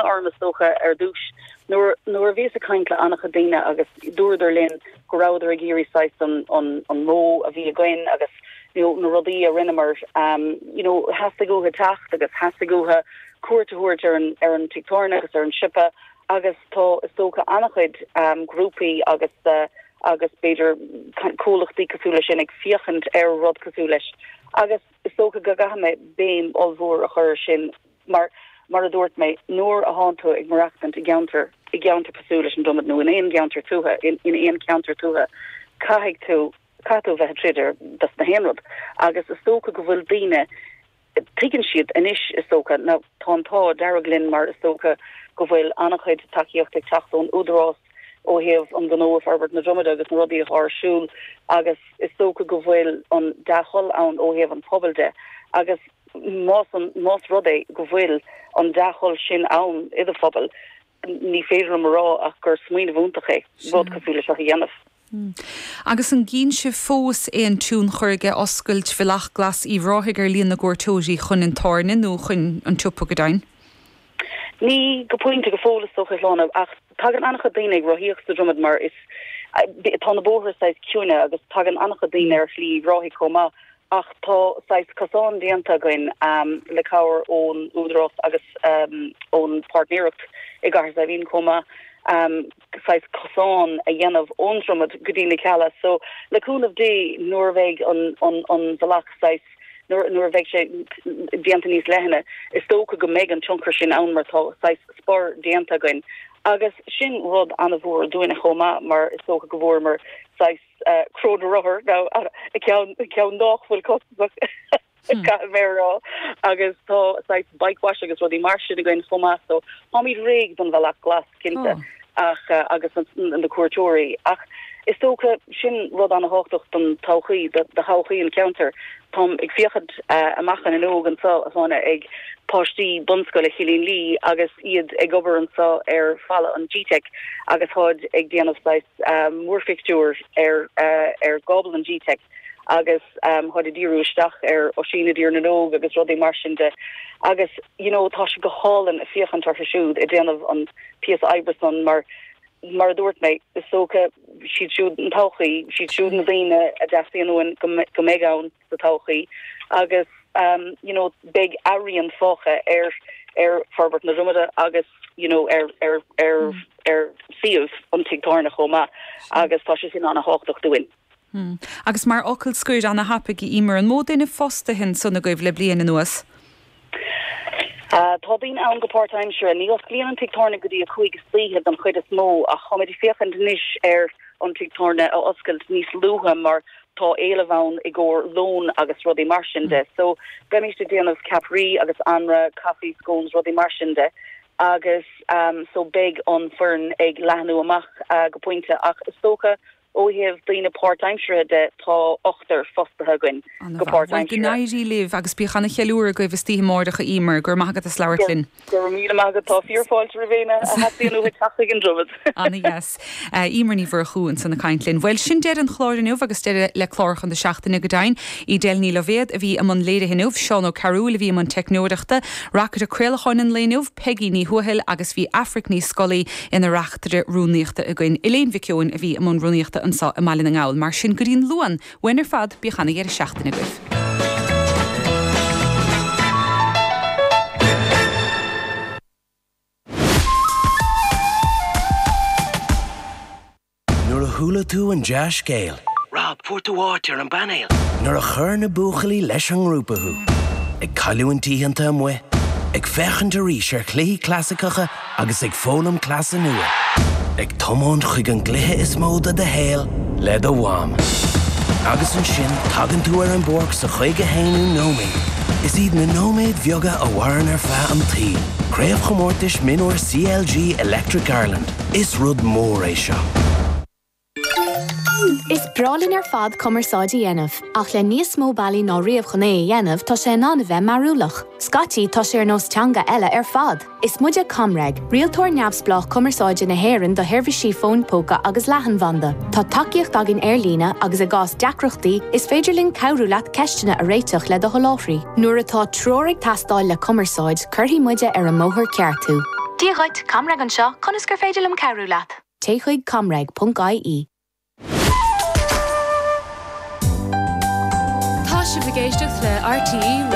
Orm is dócha ar dtús nuair nuair a bhíos ag caint le an-chuid daoine agus dúradar linn go rabhadar ag iarraidh saghas an an an modh a bhí againn agus you know na rudaí a rinneamar um you know theastaigh uathu teacht agus theastaigh uathu cuairt a thabhairt ar an ar an tigh tábhairne agus ar an siopa agus tá is dócha an-chuid um grúpaí agus uh, agus b'fhéidir comhlachtaí cosúil leis sin ag féachaint ar rud cosúil leis agus is dócha go gcaithfidh mé béim ollmhór a chur ar sin Mar, mar a dúirt mé, nuair a thánn tú ag maireachtaint i gceantar, i gceantar cosúil leis an Dromad nó in aon gceantar tuaithe, in, in aon cheantar tuaithe, caithfidh tú, caithfidh tú a bheith ag troid ar dos na haon rud. Agus is dócha go bhfuil daoine, tuigeann siad anois, is dócha, now tá an t-ádh dearg linn mar is dócha go bhfuil an-chuid tacaíocht ag teacht ón Údarás ó thaobh an gnó i Forbairt na Dromada agus na rudaí atá ar siúl agus is dócha go bhfuil an dea-thoil ann ó thaobh an phobail de agus Más, más rud é go bhfuil an dea-thoil sin ann i do phobal, ní féidir liom a rá ach gur smaoineamh iontach é rud cosúil le seo a dhéanamh. Agus an gcíonn sibh fós aon tionchar aige oscailt Bhealach Glas Uíbh Ráthaigh ar líon na gcuairteoirí chun an tábhairne nó chun an tsiopa go deimhin? Ní go pointe go fóill is dócha, a Shláine, ach tagann an-chuid daoine ag rothaíocht sa Dromad mar is tá na bóithre saghas ciúine agus tagann an-chuid daoine ar Shlí Uíbh Ráthaigh chomh maith. Ach tá saghas cosán déanta againn le cabhair ón Údarás agus ón bpáirtnéireacht i gCathair Saidhbhín chomh maith, saghas cosán a dhéanamh ón Dromad go dtí na Cealla. So, le cúnamh Dé, nuair a bheidh an an bealach saghas, nuair nuair a bheidh sé déanta níos leithne, is dócha go mbeidh an tionchar sin ann mar tá saghas spor déanta againn. Agus sin rud an-mhór dúinne chomh maith mar is dócha go bhfuaireamar saghas, Cró na Rothar nó ceann ceann nách bhfuil costasach caithfidh mé a rá agus tá saghas bike wash agus rudaí mar sin againn chomh maith so táimid réidh don bhealach glas cinnte ach agus na cuairteoirí ach is dócha sin rud an-thábhachtach don todhchaí do thodhchaí an cheantair. Táim ag féachaint amach an fhuinneog anseo a Shláine ag páistí bunscoile Chillín Lí agus iad ag obair anseo ar falla an GTeic agus táid ag déanamh saghas múrphictiúr ar ar gcábal an GTeic agus táid ag díriú isteach ar Oisín i dTír na nÓg agus rudaí mar sin de agus you know tá sé go hálainn ag féachaint orthu siúd ag déanamh an píosa oibre san mar mar a dúirt mé is dócha siad siúd an todhchaí, siad siúd na daoine a dteastaíonn uainn go mbeidh ann sa todhchaí agus you know beidh a rian fágtha ar ar Forbairt na Dromada agus you know ar ar ar ar suíomh an tigh tábhairne chomh maith agus tá sé sin an-thábhachtach dúinn. Agus mar fhocal scoir ana-thapaidh, a Emer, an mó duine fostaithe ansan agaibh le bliain anuas? Tá daoine ann go páirtaimseartha. Ní osclaíonn an tigh tábhairne go dtí a 5 istoíche don chuid is mó ach táimid ag féachaint anois ar an tigh tábhairne a oscailt níos luaithe mar tá éileamh ann i gcomhair lón agus rudaí mar sin de. So beimid ag déanamh ceapairí agus anraith, caife, scones, rudaí mar sin de agus so beidh an foireann ag leathnú amach go pointe ach is dócha Ó thaobh daoine páirtaimseartha de, tá ochtar fostaithe againn go Ana-mhaith. Bhuel, go páirtaimseartha. n-éirí libh agus bíodh ana-cheiliúradh agaibh istoíche amáireach, a Emer. Go raibh maith agat as labhairt linn. Go raibh míle maith agat. Tá fíorfháilte roimh éinne a theastaíonn uathu teacht chuig an Dromad. Ana-dheas. Emer Ní Mhurchú ansan ag caint linn. Bhuel, sin deireadh an chláir inniu agus deireadh le cláracha na seachtaine go deimhin. Edel Ní Loibhéad a bhí i mbun léirithe inniu, Seán Ó Cearúil a bhí i mbun teicneoireachta, Reacaire craolacháin an lae inniu, Peigí Ní Thuathail agus bhí Aifric Ní Scolaí ina reachtaire rúnaíochta againn. Elaine Mhic Eoin a bhí i mbun rúnaíochta anseo i mBaile na nGall. Mar sin, go dtí'n Luan, uainn ar fad, bíodh ana-dheireadh seachtaine agaibh. Nuair a chuala tú an dea-scéal. Rob, fuair tú áit ar an bpainéal! Nuair a chuir na buachaillí leis an ngrúpa thú. Ag cailliúint oícheanta amuigh, ag féachaint arís ar chluichí clasaiceacha agus ag foghlaim cleasa nua. Ag tiomáint chuig an gcluiche is mó de do shaol le do mham. Agus ansin tagann tú ar an bpáirc sa 51ú nóiméad. Is iad na nóiméid bheaga a mhaireann ar feadh an tsaoil. Craobhchomórtais Mionúir CLG Electric Ireland. Is rud mór é seo. Is breá linn ar fad cumarsáid a dhéanamh, ach le níos mó bealaí ná riamh chun é a dhéanamh, tá sé in ann a bheith mearúlach. Scaití, tá sé ar nós teanga eile ar fad! Is muide ComReg, rialtóir neamhspleách cumarsáide na hÉireann do sheirbhísí fóin póca agus leathanbhanda. Tá tacaíocht againn ar líne agus i gcás deacrachtaí, is féidir linn cabhrú leat ceisteanna a réiteach le do sholáthraí. Nuair atá treoir ag teastáil le cumarsáid, cuirfidh muide ar an mbóthar ceart thú. Dia dhuit, ComReg anseo, conas gur féidir liom cabhrú leat? Téigh chuig comreg.ie. Tá sibh ag éisteacht le RTÉ Raidió.